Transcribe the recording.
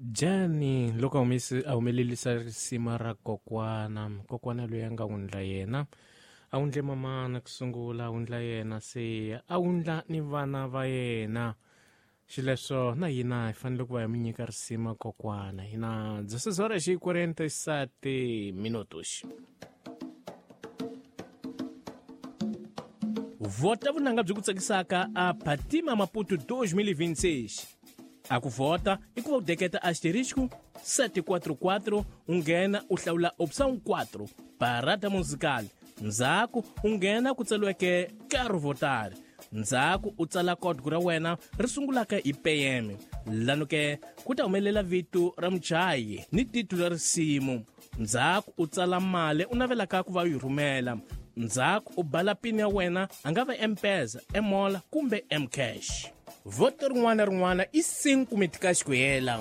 Jani loko a humelerisa risima ra kokwana, kokwana loyi a nga wundla yena, a wundle mamana ku sungula, a wundla yena se a wundla ni vana va yena. Xileswo na hina hi fanele ku va hi mi nyika risima kokwana. Hina 16 horas e 47 minutos. Vota vunanga byi ku tsakisaka a Phatima Maputo 2026. A ku vhota i ku va u deketa asterisco 744 u nghena u hlawula opção 4 parada musical, ndzhaku u nghena ku tsariweke Quero votar, ndzhaku u tsala código ra wena ri sungulaka hi PM, lano ke ku ta humelela vito ra muchayi ni titulo ra risimu, ndzhaku u tsala mali u navelaka ku va u yi rhumela, ndzhaku u bala pin ya wena, a nga va M-Pesa, M-Mola kumbe M-Cash. Voto rin'wana na rin'wana i 5 meticais ku hela.